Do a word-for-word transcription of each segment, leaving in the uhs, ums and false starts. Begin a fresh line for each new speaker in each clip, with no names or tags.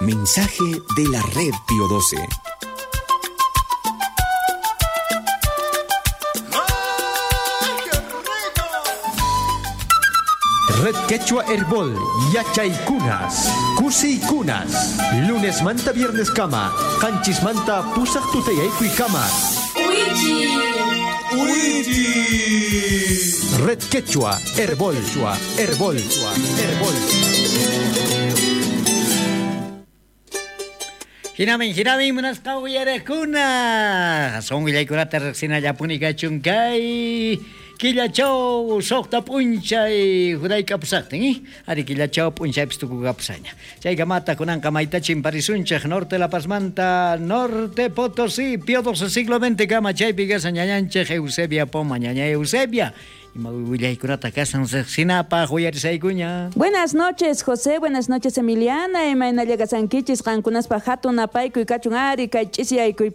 Mensaje de la Red Pío doce.
Red Quechua Herbol, Yachaykunas, Kusiykunas, lunes manta viernes kama, qanchis manta pusaq tutayaykuy kama.
Uichi.
Uichi. Red Quechua Herbol, Herbol, Herbol.
Hinamin, hinamin, munasqa uyarakuna. Son willaykunata riqsinallapuni kachun kay killachaw suqta p'unchay juraykapusaqtin, eh? Ari killachaw p'unchaypis tukukapusaña. Chaykamata kunanqa maytachin parisunchik Norte La Pazmanta, Norte Potosí, Pío doce siglo veinte kama chaypi kasan ñañanchik Eusebia Poma, ñaña Eusebia.
Buenas noches, José. Buenas noches, Emiliana. Imayna llegasankichis qankunaspa hatun apaykuy kachun ari kay ch'isiyaykuy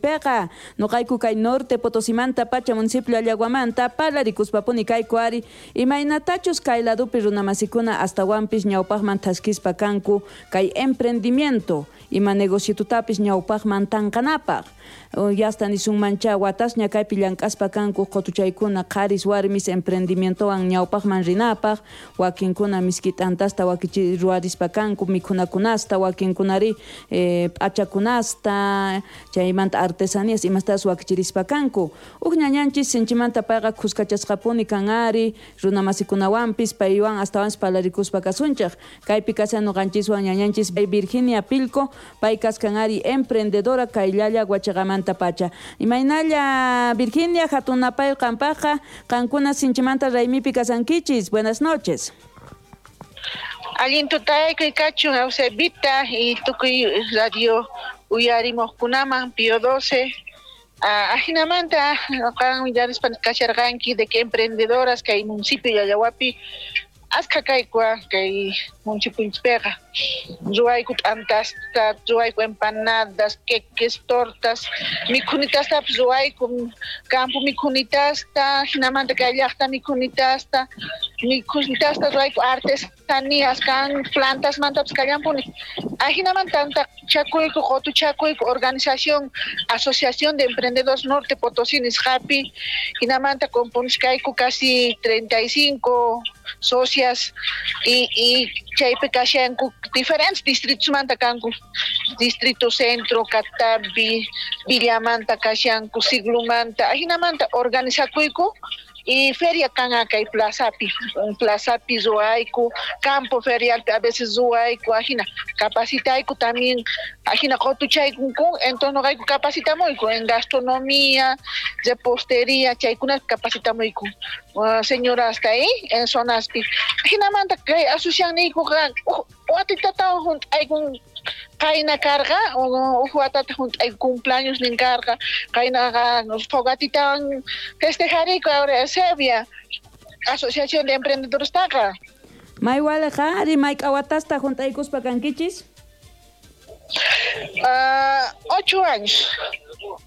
noqayku kay Norte Potosimanta pacha municipio Allaguamanta parlarikuspapuni kayku ari imaynatachus kay ladupi runamasikuna astawanpis ñawpaqman thaskispa kanku kay emprendimiento ima negociotutapis ñawpaqman tanqanapaq. Yasta nisunmancha watasña kaypi llank'aspa kanku qutuchaykuna qharis warmis emprendimientowan ñawpaqman rinapaq wakinkuna miski t'antasta wakichi ruwarispa kanku mikhunakunasta wakinkunari eh, p'achakunasta chaymanta artesanías imastas wakichirispa kanku uj ñañanchis sinchimanta payqa khuskachasqapuni kan ari runamasikunawanpis paywan astawanpis parlarikuspa kasunchik kaypi kashan nuqanchiswan ñañanchis Virginia Pilco pay kaskan ari emprendedora kayllalla Huachaqamanta pacha. Imaynalla Virginia hatunapay qampaqqa qankuna sinchimanta raymipi kasankichis. Buenas noches.
Allin tutaykuy kachun Eusebita y tukuy radio uyarimoqkunaman Pío doce. Ajinamanta qan willarispa kasharqanki de que emprendedoras kay municipio Llallawapi askha kaykua kay municipiopiqa ruwayku t'antasta, ruwayku empanadas, queques, tortas, mikhunitastapis ruwayku campo mikhunitasta, jinamanta kay llaqta mikhunitasta, mikhunitasta ruwayku artesanías kan plantasmantapis kallanpuni. Ajinamanta tantachakuyku, qutuchakuyku organización Asociación de Emprendedores Norte Potosí nisqapi, jinamanta componisqayku casi treinta y cinco socias y, y chaypi kashanku diferentes distritos manta kanku, distrito centro, Catavi, Villamanta kashanku, Siglumanta, ajinamanta organizakuyku y feria kan kay plazapi, plazapi ruwayku, campo ferial a veces ruwayku, ajina capacitayku también, ajina qutuchayku, entonces noqayku capacitamuyku en gastronomía, repostería, chaykuna capacitamuyku. Uh, señora hasta ahí en zonaspi. Ajinamanta kay asocianniykuqa watitatawan junt'aykun qayna karqa, uj watata junt'ayku cumpleaños nin karqa, qaynaqa fogatitawan festejariyku ahora Eusebia, Asociación de Emprendedores taqa.
Maywaleqa ari mayk'a watasta junt'aykuspa kankichis?
Uh, ocho años.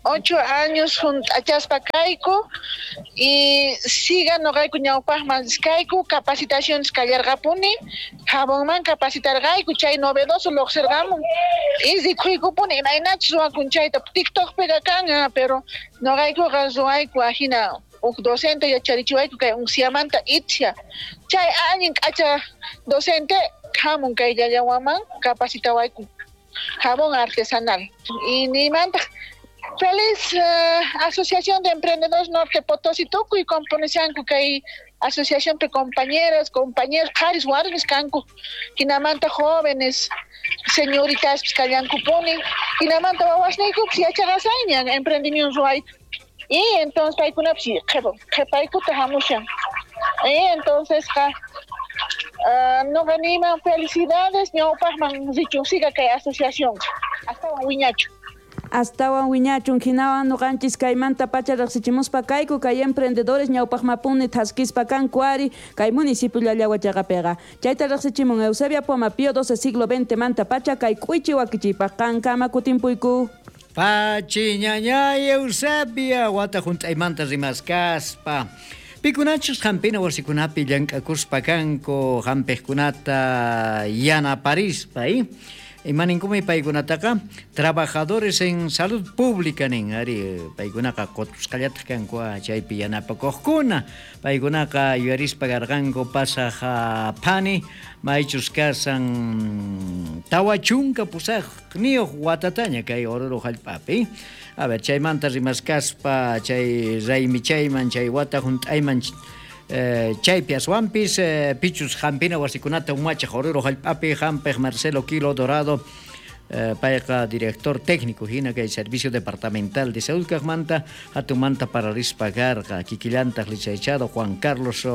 Ocho años junt'achaspa kayku y siga noqayku ñawpaqman kayku capacitaciones kallarqapuni jabonman capacitarqayku chay novedoso lluqsirqamun y rikuykupuni imaynachus ruwakun chayta TikTokpiqa kan pero noqaykuqa ruwayku ajina uj docente yacharichiwayku kay unciamanta itcha chay allin k'acha docente hamun kay llallawaman capacitawayku jabón artesanal y nimantaq feliz uh, Asociación de Emprendedores Norte Potosí tukuy componishanku kay asociación de compañeras, compañeros, qharis warmis kanku, hinamanta jóvenes, señoritas kallankupuni, hinamanta wawasniykupis yachaqasayñan emprendimiento ruwayta. Y entonces paykunapis qhipaykuta hamushan. Y entonces qa uh, noqa niyman felicidades ñawpaqman richun siga kay asociación astawan wiñachu.
Astawan wiñachun hinawan nuqanchis kaymanta pacha riqsichimuspa kayku kay emprendedores ñawpaqmapuni thaskispa kanku ari kay municipio Llallahuachaqapiqa. Chayta riqsichimun Eusebia Poma Pío doce siglo veinte manta pacha kay k'uychi wakichiypaq qankama kutimpuyku.
Pachi ñañay Eusebia wata junt'aymanta rimaskaspa. Pikunachus hampina wasikunapi llank'akuspa kanku hampiqkunata yanaparispa, eh? Imaninkumi paykunataqa trabajadores en salud pública nin ari paykunaqa qotusqallataq kanku chaypi yanapakuqkuna paykunaqa yuyarispa karqanku pasaq phani maychus kasan tawa chunka pusaqniyuq watataña kay Oruro hallp'api. A ver, chaymanta rimaskaspa chay raymichayman chay wata hunt'ayman Eh, chaypi aswanpis eh, pichus hampina wasikunata umachaq Oruro hallp'api hampiq Marcelo Quilo Dorado eh, payqa director técnico hina kay Servicio Departamental de Salud kaqmanta hatunmanta pararispa karqa kikillantaq licenciado Juan Carlos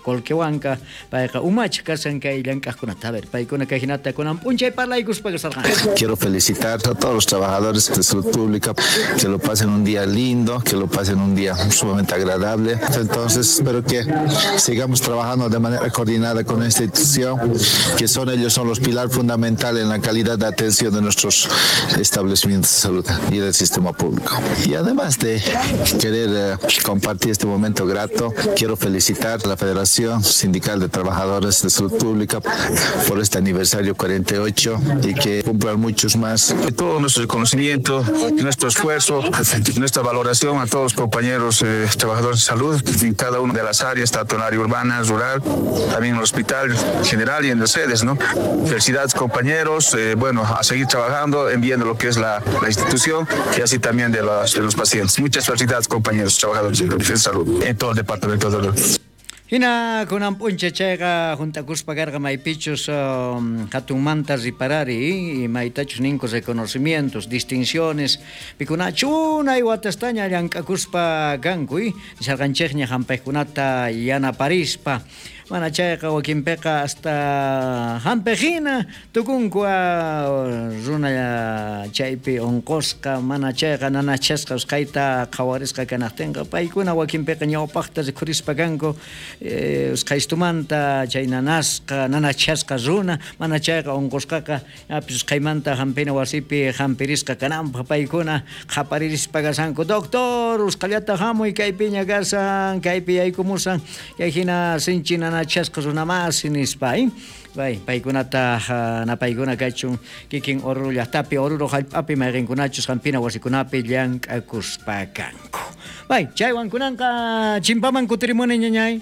Colquehuanca payqa umachaq kasan kay llank'aqkunata. A ver, paykuna kay hinata kunan p'unchay parlaykuspa kasarqanku.
Quiero felicitar a todos los trabajadores de salud pública, que lo pasen un día lindo, que lo pasen un día sumamente agradable. Entonces espero que sigamos trabajando de manera coordinada con esta institución, que son ellos son los pilar fundamental en la calidad de atención de nuestros establecimientos de salud y del sistema público. Y además de querer eh, compartir este momento grato, quiero felicitar a la Federación Sindical de Trabajadores de Salud Pública por este aniversario cuarenta y ocho y que cumplan muchos más.
Todo nuestro reconocimiento, nuestro esfuerzo, nuestra valoración a todos los compañeros eh, trabajadores de salud en cada una de las áreas, tanto en el área urbana, rural, también en el hospital general y en las sedes, ¿no? Felicidades, compañeros, eh, bueno, a seguir trabajando, enviando lo que es la, la institución y así también de los, de los pacientes. Muchas felicidades, compañeros trabajadores de salud en todo el departamento de salud.
Hina kunan p'uncha chayqa juntakuspa karqa maypichus um, hatunmanta riparari maytachus ninku reconocimientos, distinciones pikunachu unay watastaña llank'akuspa kanku nisharqanchikña hampiqkunata yanaparispa mana chayqa wakinpiqa hasta hampiqhina tukunku runa chaypi unqusqa mana chayqa nanachasqa usqhayta qhawarisqa kanaqtinqa paykuna wakinpiqa ñawpaqta rikhurispa kanku eh, usqhaystumanta chay nanasqa nanachasqa runa mana chayqa unqusqaqa apis usqhaymanta hampina wasipi hampirisqa kananpaq paykuna qhaparirispa kasanku doctor usqhallata hamuy kaypiña kasan kaypi yaykumusan kay hina sinchi nanachasqa runa masi nispa eh? Bay, paykunata napaykuna kachun kikin Oruro llaqtapi Oruro hallp'api mayqinkunachus hampina wasikunapi llank'akuspa kanku. Bay, chaywan kunanqa chimpaman kutirimuni ñañay.